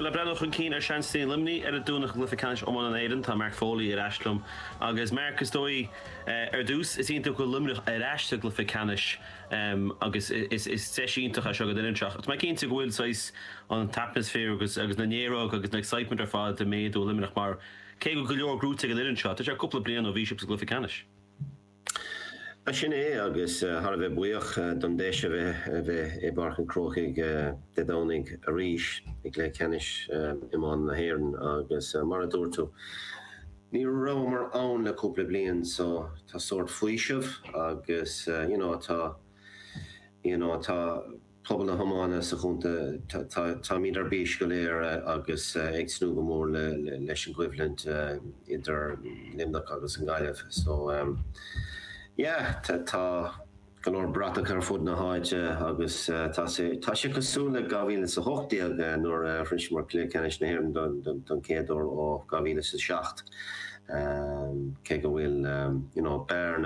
Le breathnú chun cinn ar seansanna Luimnigh ar an Domhnach i gCluiche Ceannais Iomána na hÉireann, tá Mark Foley ar ais liom. Agus Mark, is dóigh, ar dtús, is iontach go bhfuil Luimneach ar ais sa gcluiche ceannais agus is deis iontach é seo don fhoireann seo. Tá mé cinnte go bhfuil saghas an t-atmaisféar agus agus na néaróga agus an excitement ar fad ag méadú i Luimneach mar cé go bhfuil go leor gnóite ag an fhoireann seo, tá sé cúpla bliain ó bhí sibh sa gcluiche ceannais. Sin é, agus thar a bheith buíoch don deis a bheith a bheith i bPáirc an Chrócaigh Dé Domhnaigh arís i gcluiche ceannais iomána na hÉireann agus mar a dúirt tú, ní rabhamar ann le cúpla bliain so tá sórt faoiseamh agus you know tá you know tá Pobal na hiomána sa chontae, táimid ar bís go léir agus ag tnúth go mór leis an gcoimhlint idir Luimneach agus an Ghaillimh. So yeah, tá go leor bratacha ar fud na háite agus tá sé tá sé cosúil le 2018 nuair a shroiseamar Cluiche Ceannais na hÉireann don chéad uair ó 2007 cé go bhfuil you know bearna.